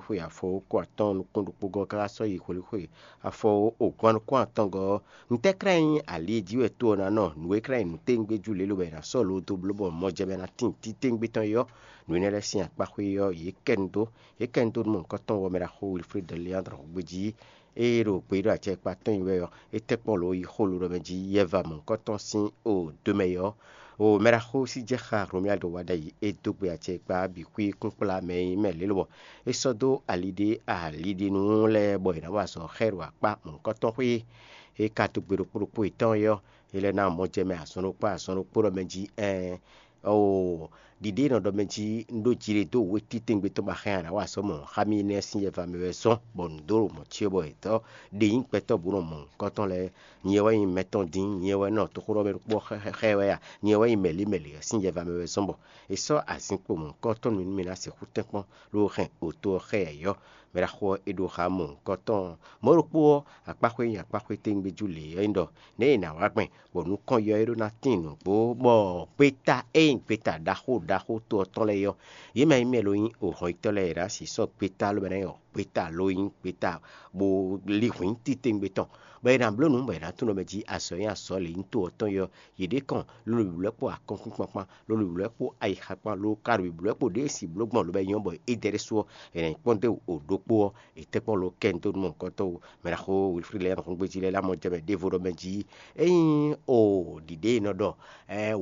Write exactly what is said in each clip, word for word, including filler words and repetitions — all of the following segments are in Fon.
xwe afɔ ko atɔ́ɔ́n nukún ɖokpó gɔ́ káká sɔ́ yi hwelixwe afɔ ogɔ́n nukún atɔ́ngɔ́ ɔ́, ntɛ́ klɛ́ nyí ali e jí wɛ to ɔ́ ná nɔ? Nǔ e klɛ́ nyí nǔtɛ́ngbéjú lě lobɔ è nǎ sɔ́ lo dó bló bɔ mɔjɛmɛ ná tín títɛ́ngbé tɔn é ɔ́, nǔ énɛ́ lɛ́ɛ sín akpá xwé ɔ́, yě kɛ nu dó. Yě kɛ nu dó nú mɔ̌hunkɔtɔn ɔ́, mɛɖaxó Wilfrid Leandre Hɔngbéjí, ée ɖo gbeyíɖɔ acɛ kpa tɔn nyi wɛ ɔ́, é tɛ́ kpɔ́n lǒ yi xó lodɔmɛ jí yɛva mɔ̌hunkɔtɔn sín o do mɛ ɔ́, o mɛɖaxó sí jɛ xá Romuald Wadagni e dó gbe acɛ kpa bǐ xwí kúnkplá mɛ e nyí mɛ lě lobɔ é sɔ́ dó ali ɖé ali ɖé nú lɛ́ɛ bɔ è nǎ wa azɔ̌ xá ɛ ɖo akpá mɔ̌hunkɔtɔn xwé e ka dó gbe ɖokpó ɖokpó yětɔn é ɔ́, é lɛ́ ná mɔ jɛ mɛ azɔn ɖokpó azɔn ɖokpó ɖɔ mɛ jí ɛɛn. Oo, ɖiɖe e nɔ ɖɔ mɛ jí un ɖó jiɖe dó wětítɛ́ngbe tɔn ba xá nya nǎ wa sɔ́ mɔ xá mì énɛ́ sín yɛva mɛ wɛ zɔ́n, bɔ nǔ dó ɖo mɔ̌ cyɔ bɔ è dɔ́ ɖe nyí gbɛtɔ́ bó nɔ mɔ nǔkɔntɔn lɛ́ɛ. Nyɛ wɛ nyí mɛ tɔn dín, nyɛ wɛ nɔ toxóɖɔ mɛ ɖokpó xɛ wɛ a? Nyɛ wɛ nyí mɛ̌li mɛ̌li ɔ́ sín yɛva mɛ wɛ zɔ́n bɔ è sɔ́ azǐn kpo mɔ̌hunkɔtɔn nú mì nú mì ná sixú tɛ́nkpɔ́n ɖó hɛn oto ɔ́ xá ɛ ɔ́. Mɛ ɖaxó ɔ́, é ɖó xá mɔ̌hunkɔtɔn ɔ́. Mɔ̌ ɖokpó ɔ́, akpáxwé nyi akpáxwé téŋgbéjú lě ɔ́ nyí ɖɔ nɛ̌ è nǎ wa gbɛn bɔ nukɔn yɔ́ é ɖó ná tín nǔgbó, bɔ gbéta e nyí gbéta ɖaxó ɖaxó to ɔ́ tɔn lɛ́ɛ é ɔ́, yě mɛ e nyí mɛ lo nyí ohɔnyitɔ́ lɛ́ɛ è nǎ sixú sɔ́ gbéta lóbɛ́ ná nyí gbéta ló nyí gbéta bó lí hwǐn titewungbe tɔn, bɔ è nǎ bló nǔ bɔ è nǎ tunwun ɖɔ mɛ jí azɔ̌ e nyí azɔ̌ lě nyí to ɔ́ tɔn é ɔ́, yě ɖě kɔn ló ɖo bǐblɔ́ kpó akɔ́nkpinkpan kpán, ló ɖo bǐblɔ́ kpó ayixa kpán, ló ka ɖo bǐblɔ́ kpó ɖěe sin bló gbɔn lǒ bɔ é nyí ɔ́ bɔ é dɛ ɖésú ɔ́, è nǎ nyí kpɔ́n dó wǔ ɖokpó ɔ́, è tɛ́ kpɔ́n ló kɛ nu dó nú mɔ̌hunkɔtɔn wú. Mɛ ɖaxó Wilfrid lɛ́ɛ nɔ xúgbéjí lɛ́ɛ lá mɔ jɛ mɛ ɖěvo ɖɔ mɛ jí ényí o ɖiɖe e nɔ ɖɔ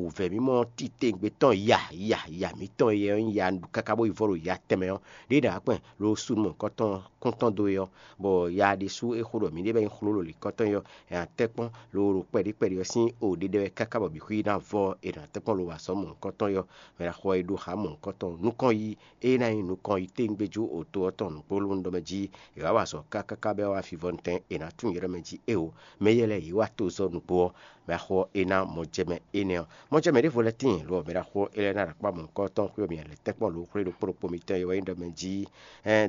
wǔvɛ́ mímɔ́ titewungbe tɔn ya ya ya mǐtɔn e nyí ya káká bó yi vɔ́ ɖo ya tɛnmɛ ɔ́, ɖěe ɖǎ kpɛn ló sú nú mɔ̌hunkɔtɔn kúntɔn dó é ɔ́, bɔ ya ɖésú é xo ɖɔ mǐɖée bɔ é nyí xló ɖo lǐkɔtɔn é ɔ́, è nǎ tɛ́ kpɔ́n lo ɖo kpɛɖí kpɛɖí ɔ́ sín o ɖiɖe wɛ káká bɔ bǐ xwí ná vɔ è nǎ tɛ́ kpɔ́n lo wa sɔ́ mɔ̌hunkɔtɔn é ɔ́, mɛ ɖaxó ɔ́ e ɖó xá mɔ̌hunkɔtɔn nukɔn yí é ná nyí nukɔn yi téŋgbéjú oto ɔ́ tɔn nǔgbó lónú ɖɔ mɛ jí è wǎ wa azɔ̌ káká bɔ é wá fivɔ́nutɛn è nǎ tunwun yě ɖɔ mɛ jí éeǒ, mɛ éyɛ́ lɛ́ɛ yě wá tozɔ́ nǔgbó ɔ́, mɛ axɔ ɔ́ é ná mɔ jɛ mɛ énɛ́ ɔ́. Mɔ jɛ mɛ ɖěvo lɛ́ɛ tíin lo ɔ́, mɛ ɖaxó é lɛ́ɛ ná ɖo akpá mɔ̌hunkɔtɔn xwé ɔ́ mɛ lɛ́ tɛ́nkpɔ́n lǒ xwlé ɖokpó ɖokpó mitɔn e wɛ nyí ɖɔ mɛ jí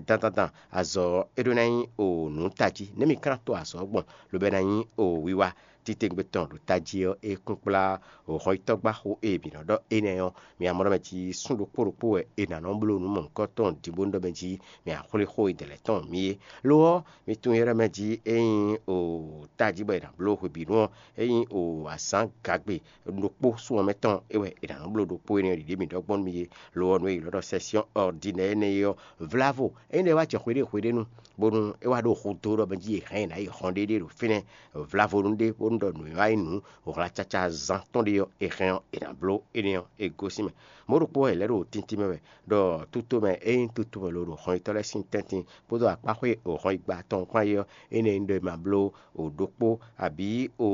dandan dan azɔ̌ ɔ́ é ɖó ná nyí o nǔ tají, nɛ̌ mi ka ná to azɔ̌ ɔ́ gbɔn lobo ná nyí o wiwa titewungbe tɔn ɖo tají ɔ́ é kún kplá hɔnyitɔ́gbáxo e mǐ nɔ ɖɔ énɛ́ ɔ́, mi amlɔ mɛ jí sún ɖokpó ɖokpó wɛ è nǎ nɔ bló nǔ mɔ̌hunkɔtɔn ɖěbǔ ɖɔ mɛ jí mi axwlé xó e dɛ̌ lɛ́ɛ tɔn mǐ é. Lo ɔ́, mi tunwun yɛ́ɖɛ́ mɛ jí ényí o tají bɔ è nǎ bló hwebǐnu ɔ́, ényí o azǎn gagbe ɖokpó sun ɔ́ mɛ tɔn é wɛ è nǎ nɔ bló ɖokpó énɛ́ ɖiɖě mǐ ɖɔ gbɔn nú mi é. Lo ɔ́, nǔ e è ylɔ́ ɖɔ sɛ́syɔ́ ɔrdinɛ́ énɛ́ é ɔ́, vlávo énɛ́ wá jɛ xwé ɖé hwéɖénu, bónú é wá ɖo xu dó ɖɔ mɛ jí è hɛn ɛ nǎ yi hɔn ɖéɖé ɖo fínɛ́. Vlávo nú ɖé bónú ɖɔ nǔ e wá nyí nǔ hwlacaca zán tɔn ɖé ɔ́, è hɛn ɔ́, è nǎ bló énɛ́ ɔ́, è gosín mɛ. Mɔ̌ ɖokpó wɛ è lɛ̌ ɖo tíntín mɛ wɛ ɖɔ tútomɛ ényí tútomɛ lo ɖo hɔnyitɔ́ lɛ́ɛ sín tɛ́ntin kpódó akpáxwé hɔnyigba tɔn kpán é ɔ́, énɛ́ nyí ɖɔ è ma bló o ɖokpó abǐ o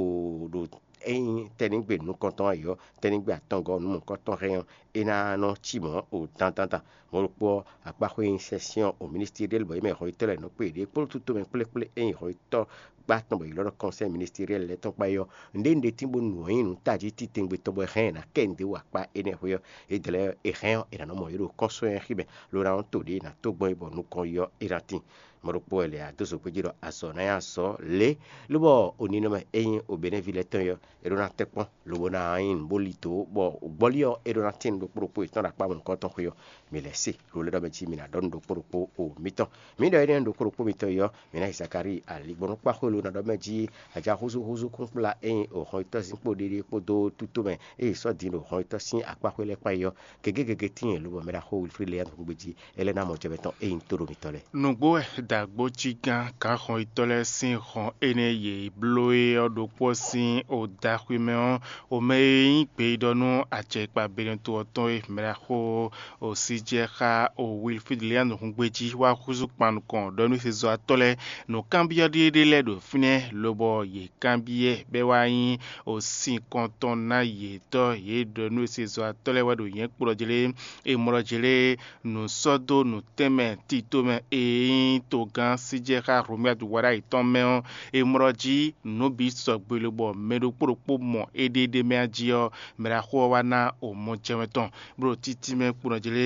ɖo ényí tɛ́nnígbe nukɔntɔn ɔ́ ɔ́, tɛ́nnígbe atɔngɔ́ nǔmɔ̌kɔ́tɔn hɛn ɔ́, é ná nɔ cí mɔ̌ o dandandan. Mɔ̌ ɖokpó ɔ́, akpáxwé nyi sɛ́syɔ́ o ministiri ɖé lobɔ é mɛ hɔnyitɔ́ lɛ́ɛ nɔ kpé yěɖée kpódó tútomɛ kplé kplé ényí hɔnyitɔ́ gbá tɔn bɔ è ylɔ́ ɖɔ kɔnsɛ́ ministiriɛli lɛ́ɛ tɔn kpá é ɔ́, nǔɖé nǔɖé tín bónú nǔ ɔ́ nyí nǔ tají titewungbe tɔn bɔ è hɛn ɛ nǎ kɛ nǔɖé wa kpá énɛ́ xwé ɔ́, é dlɛ́ è hɛn ɔ́, è nǎ nɔ mɔ yě ɖo kɔ́nsɔ́ nyanya xí mɛ, lo ná nɔ to ɖě è nǎ tó gbɔn é bɔ nukɔn yi ɔ́, é ná tíin. Mɔ̌ ɖokpó wɛ lě a dó zogbéjí ɖɔ azɔ̌ ná nyí azɔ̌ lě, lóbɔ oninɔmɛ e nyí obɛ́nɛ́ví lɛ́ɛ tɔn é ɔ́, é ɖó ná tɛ́ kpɔ́n, lobo ná nyí nǔ bó lí dǒ, bɔ gbɔ́lí ɔ́, é ɖó ná tín nǔ ɖokpó ɖokpó yětɔn ɖo akpá mɔ̌hunkɔtɔn xwé ɔ́. Mi lɛ́ se, lo lɛ́ ɖɔ mɛ jí mi ná ɖɔ nǔ ɖokpó ɖokpó o mitɔn. Mi ɖɔ énɛ́ nǔ ɖokpó ɖokpó mitɔn é ɔ́, mi ná yi Zakalíi aligbɔnúkpáxwé lo ná ɖɔ mɛ jí aja húzú húzú kúnkplá e nyí hɔnyitɔ́ zínkpo ɖéɖé kpódó tútomɛ e è sɔ́ din ɖo hɔnyitɔ́ sín akpáxwé lɛ́ɛ kpán é ɔ́, gěgé gěgé tíin lobo mɛ ɖaxó Wilfríd lɛ́ɛ nú gbéjí, é lɛ́ ná mɔ jɛ mɛ tɔn e nyí tóɖomitɔ́ lɛ́ɛ. Nǔgbó wɛ dǎgbócígán gǎnxɔnyitɔ́ lɛ́ɛ sín hɔn énɛ́ e yě bló é ɔ́ ɖokpó ɔ́ sín odaxwimɛ ɔ́, omɛ e nyí gbeyíɖɔ nú acɛkpa Benɛto ɔ́ tɔn e mɛ ɖaxó Osijɛ xá o Wilfríd Lian húngbéjí wá húzú kpan nukɔn ɖɔ nú sezɔ́watɔ́ lɛ́ɛ nǔkanbyɔ́ ɖé ɖé lɛ́ɛ ɖo fínɛ́, lobɔ yě kanbyɔ́ bɔ é wá nyí o sinkɔntɔn ná yětɔ́. Yě ɖɔ nú sezɔ́watɔ́ lɛ́ɛ wɛ ɖo nyɛ̌ kplɔ́ jlé, è mlɔ́ jlé nǔ sɔ́ dó nǔtɛnmɛ titomɛ e nyí togán Sijɛ xá Hlomyadu wá ɖo ayǐ tɔn mɛ ɔ́, è mlɔ́ jí nǔ bǐ sɔgbe lobɔ mɛ ɖokpó ɖokpó mɔ éɖéɖé mɛ jí ɔ́, mɛ ɖaxó ɔ́ wá ná o mɔ jɛmɛ tɔn, bó ɖo títí mɛ kpo nɔ jlé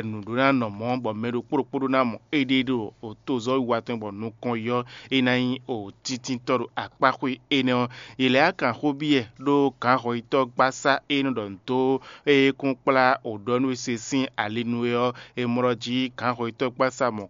nǔɖó ná nɔ mɔ̌, bɔ mɛ ɖokpó ɖokpó ɖó ná mɔ éɖée ɖo tozɔ́wiwa tɔn bɔ nukɔn yɔ é ná nyí o tíntítɔ́ ɖo akpáxwé énɛ́ ɔ́. Yě lɛ́ á kan xó byɔ́ ɖó gǎnhɔyitɔ́ gbásá e nɔ ɖɔ nǔ dó e kún kplá o ɖɔ nú we se sín ali nu é ɔ́, è mlɔ́ jí gǎnhɔyitɔ́ gbásá mɔ̌kɔ